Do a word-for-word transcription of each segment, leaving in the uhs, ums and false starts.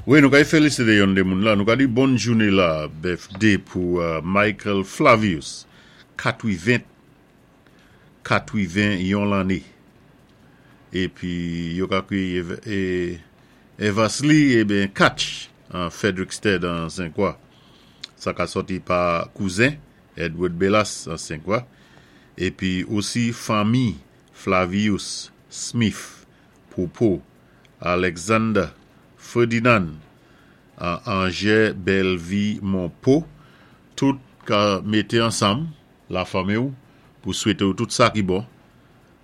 Wi, nou kay félisité yon dé moun la. Nou ka di bòn jouné la, birthday pou euh, Michael Flavius, katwiven, katwiven-yon lanné. Épi, yo ka kwiyé é, Eversley, ébyen, Catch, an Frederiksted an Senk-Kwa. Sa ka sòti pa kouzen, Edward Bellas an Senk-Kwa. Épi osi fanmi Flavius, Smith, Popo, Alexander, Ferdinand, Angers, Bellevue, Monpo, tout ka mété ansanm, la fanmi ou, pou swété ou tout sa ki bon,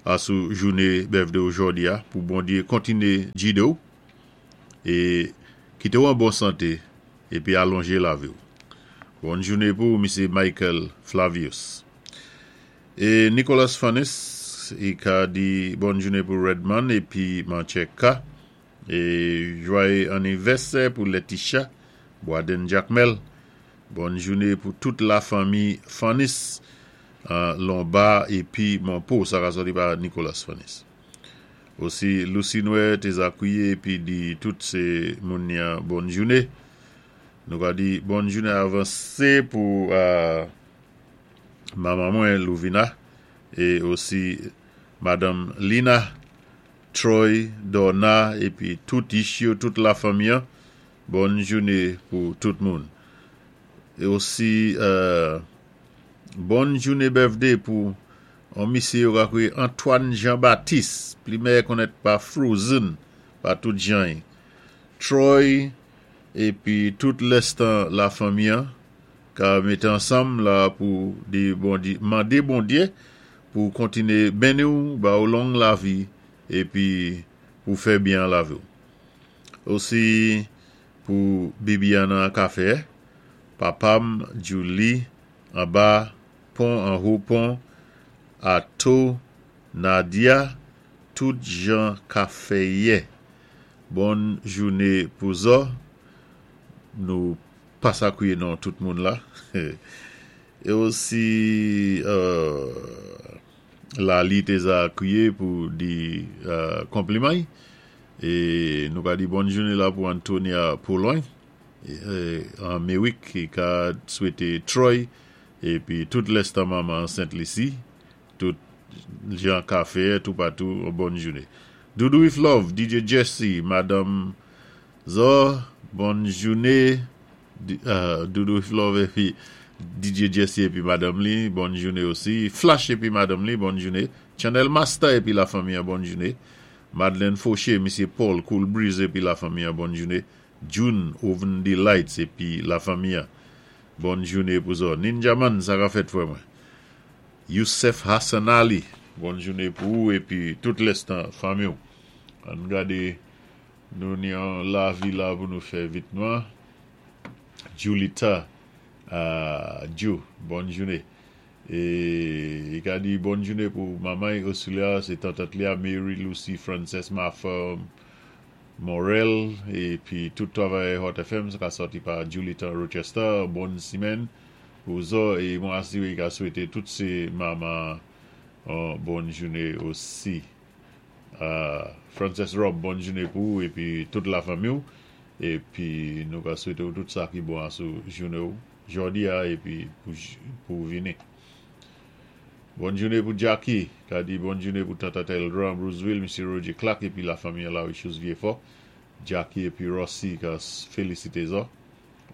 asou jouné birthday jòdi a, pou Bondyé kontiné gidé ou, é kité ou an bon santé, épi alonjé lavi ou. Bòn jouné pou Misye Michael Flavius. É Nicolas Fanis, i ka di bòn jouné pou Redman, épi Mancheka, é jwayé anivèsè pou Letitia, Boaden Jacmel. Bòn jouné pou tout la fanmi Fanis, euh, Lombard épi Monpo, sa ka sòti pa Nicolas Fanis. Osi Lucie Noé té za kwiyé épi di tout sé moun bòn jouné. Nou ka di bòn jouné avansé pou euh, manman mwen Louvina é osi Madanm Lina, Troy, Donna épi tout Ishio, tout la fanmi. Bòn jouné pou tout moun. É osi euh, bòn jouné birthday pou yon misyé yo ka kwiyé Antoine Jean-Baptiste, pli mèyè konnèt pa Frozen, pa tout jan. Troy épi tout lèstan la fanmi ka mété ansanm la pou di Bondyé, mandé Bondyé pou kontiné béni ou, ba ou long lavi épi pou fè byen lavi. Osi pou Bibiana Café, Papam, Julie, anba, pon, anwo pon, Ato, Nadia, tout jan Café. Bòn jouné pou zò. Nou pa sa kwiyé non tout moun la. É osi euh, Lali té za kwiyé pou di euh, konpliman. É nou ka di bòn jouné la pou Antonia Pologne an Merrick ki ka swété Troy épi tout lèstan manman Saint-Lucie, tout jan Café tout patou, bòn jouné. Doudou with Love, D J Jesse, Madanm Zo, bòn jouné. Euh, Doudou with Love épi D J Jesse épi Madanm li, bòn jouné osi. Flash épi Madanm li, bòn jouné. Channel Master épi la fanmi, bòn jouné. Madeleine Fauché, Misye Paul, Cool Breeze épi la fanmi, bòn jouné. June, Oven Delights épi la fanmi, bòn jouné pou zò. Ninja Man, sa ka fèt frè mwen. Youssef Hassan Ali, bòn jouné pou ou épi tout lèstan fanmi. Ann gadé nou ni an lavi la pou nou fè vitman. Julita, uh, Ju, bòn jouné. É i ka di bòn jouné pou manman Auxilia, sé tantant li a Mary Lucy Frances Martha Morel épi tout travay Hot F M, sa ka sòti pa Julita Rochester, bòn simèn pou zò é mwen asiré ka swété tout sé manman euh, bòn jouné osi. Euh, Frances Rob, bòn jouné pou ou épi tout la fanmi épi nou ka swété tout sa ki bon sou jouné jòdi a épi pou, pou vini. Bòn jouné pou Jackie, ka di bòn jouné pou Tata Teldra, Bruceville, Misye Roger Clark épi la fanmi la Richus Vieux-Fort. Jackie épi Rossi ka félisité zò.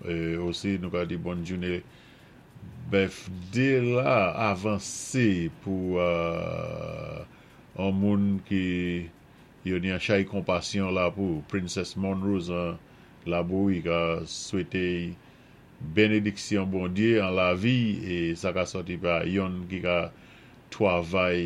É osi nou ka di bòn jouné birthday la avansé pou euh, yon moun ki yo ni an chay konpasyon la pou Princess Monrose an Laboui ka swété bénédiksyon Bondyé an lavi é sa ka sòti pa yonn ki ka twavay.